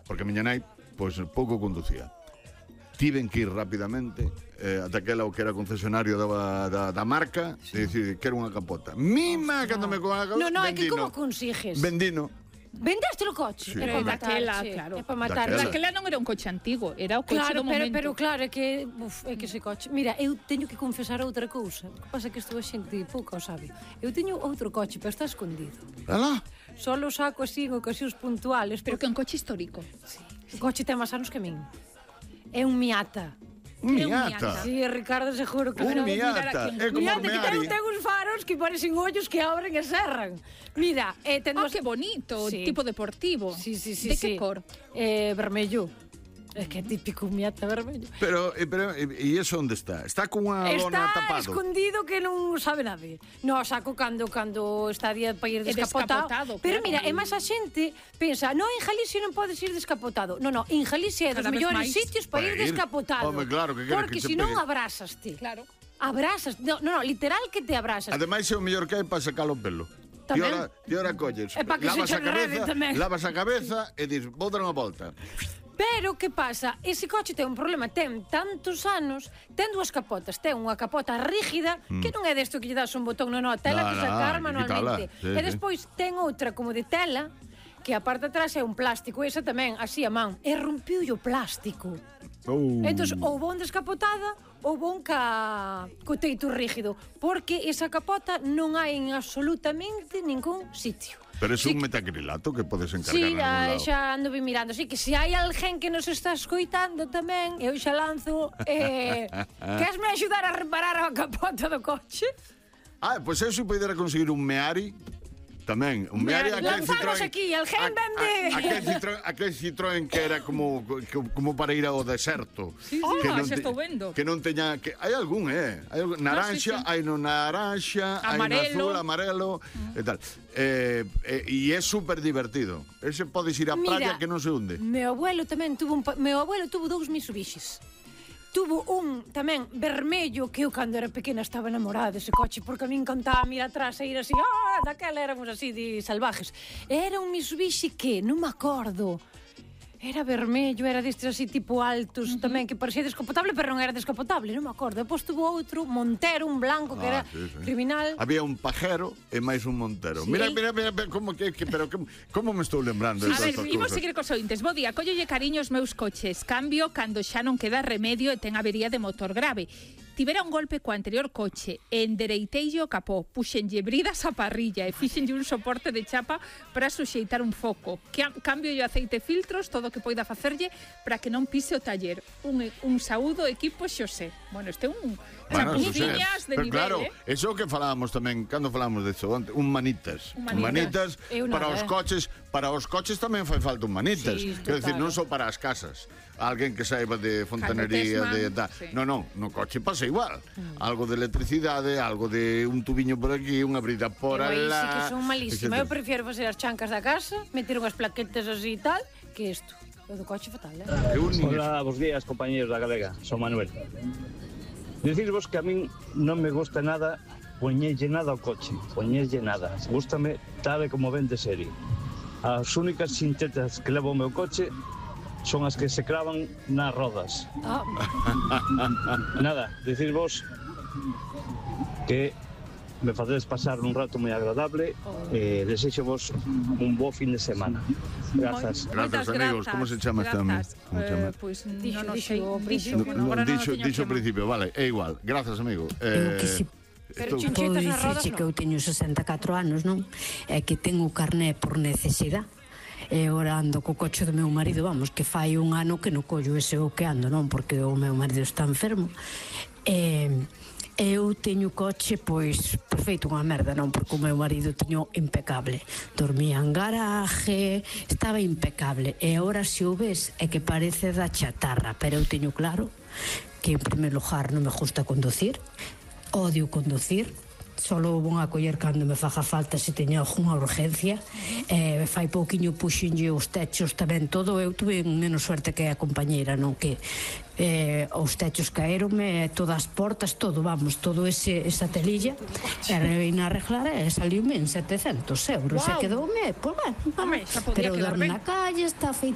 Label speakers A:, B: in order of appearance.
A: porque a miña nai, pois, pouco conducía. Tiven que ir rapidamente ata aquela o que era concesionario da marca e dicir, quero unha capota. Mima, cando me con a capota,
B: No, é que como consigues?
A: Vendino.
B: Vendeste o coche?
A: Sí.
B: É para matar,
C: claro.
B: É para matar.
C: Daquela non era un coche antigo, era o coche do momento.
B: Pero claro, é que ese coche... Mira, eu teño que confesar outra cousa. O que pasa é que estou a xente pouca o sabe. Eu teño outro coche, pero está escondido.
A: Alá?
B: Só o saco así en ocasións puntuales.
C: Pero que é un coche histórico.
B: Sí. O coche ten máis anos que a min. É un Miata.
A: Un Miata?
B: Sí, Ricardo, seguro que
A: un Miata, é como
B: Miata,
A: un Meari.
B: que ten uns faros que parecen ollos que abren e cerran. Mira,
C: que bonito, tipo deportivo.
B: Sí.
C: De que cor?
B: Vermello. É que é típico un Miata vermello.
A: Pero, e iso onde está? Está con unha lona tapado?
B: Está escondido que non sabe nadie. No, saco cando está día para ir descapotado. Pero mira, é máis a xente pensa, no, en Galicia non podes ir descapotado. No, en Galicia é dos mellores sitios para ir descapotado.
A: Home, claro, que
B: porque se non abrasaste.
C: Claro.
B: Abrasas, no, literal que te abrasas.
A: Ademais é o mellor que hai para sacar o pelo. Ti ora colles, lavas a cabeza e dis, vou dar unha volta.
B: Pero, que pasa? Ese coche ten un problema, ten tantos anos, ten dúas capotas, ten unha capota rígida, que non é desto que lle das un botón, non, tela que sacar manualmente. E despois ten outra como de tela, que a parte de atrás é un plástico, esa tamén, así a man, e rompiu o plástico. Entón, ou bon descapotada, ou bon co teito rígido, porque esa capota non hai en absolutamente ningún sitio.
A: Pero é un metacrilato que podes encargar.
B: Sí, xa ando vi mirando. Así que se hai alguén que nos está escoitando tamén, eu xa lanzo. Queres me axudar a reparar a capota do coche?
A: Pois eu se poidera conseguir un Meari. Tamén, un Meari,
B: lanzamos aquí, alguén vende.
A: Aquel Citroën que era como para ir ao deserto.
C: Xa estou vendo.
A: Que non teña, hai algún, naranxa, hai no naranxa, hai no azul, amarelo, e tal. E é super divertido. Ese podes ir á praia que non se hunde.
B: Meu abuelo tuvo 2 Mitsubishis. Tuvo un tamén vermello que eu cando era pequena estaba enamorada dese coche porque a min encantaba mirar atrás e ir así, daquela éramos así de salvajes. Era un Mitsubishi que non me acordo. Era vermello, era destes así tipo altos tamén, que parecía descapotable, pero non era descapotable, non me acordo. Depois tuvo outro, Montero, un blanco, que era criminal.
A: Había un Pajero e máis un Montero. Mira, como me estou lembrando de estas cousas.
C: Imos seguir cos ointes. Bo día, collolle cariño os meus coches. Cambio cando xa non queda remedio e ten avería de motor grave. Tivera un golpe co anterior coche, endereiteille o capó, puxenlle bridas a parrilla e fixenlle un soporte de chapa para suxeitar un foco. Cambio o aceite filtros, todo o que poida facerlle para que non pise o taller. Un saúdo equipo Xosé. Bueno, este é un chapuciñas de nivel,
A: claro, eso que falábamos tamén, cando falábamos de iso, un manitas. Un manitas para os coches tamén fai falta un manitas. Quero dicir, non só para as casas. Alguén que saiba de fontanería, no coche pasa igual. Algo de electricidade, algo de un tubiño por aquí, unha brida por alá.
B: Sí que son malísimas. Eu prefiero facer as chancas da casa, meter unhas plaquetas así e tal, que isto. O do coche fatal,
D: Hola, bos días, compañeros da Galega. Son Manuel. Decirvos que a min non me gusta nada poñerlle nada ao coche, poñerlle nada. Gústame tal e como ven de serie. As únicas sintetas que levo o meu coche son as que se cravan nas rodas. Nada, decirvos que me facedes pasar un rato moi agradable e desexo-vos un bo fin de semana. Grazas.
A: Grazas, amigos. Como se chama este amigo?
C: Pois non sei.
A: Dixo ao principio, vale, é igual. Grazas, amigo.
B: Pero chinchetas nas rodas
E: non. Que eu teño 64 anos, non? É que tengo o carné por necesidade. E ora ando co coche do meu marido, vamos, que fai un ano que non collo ese o que ando, non? Porque o meu marido está enfermo. Eu teño coche, pois, perfeito, unha merda, non? Porque o meu marido teño impecable. Dormía en garaje, estaba impecable. E agora, se o ves, é que parece da chatarra. Pero eu teño claro que, en primer lugar, non me gusta conducir. Odio conducir. Solo vou a coller cando me faga falta se teña alguna urgencia. Fai pouquiño puxenlle os techos tamén todo. Eu tuve menos suerte que a compañeira, non? Que os techos caeronme, todas as portas, todo, vamos, todo esa telilla, e reina a arreglar e saliume en 700 euros. E quedoume, pois bueno, pero dorme na calle, está feito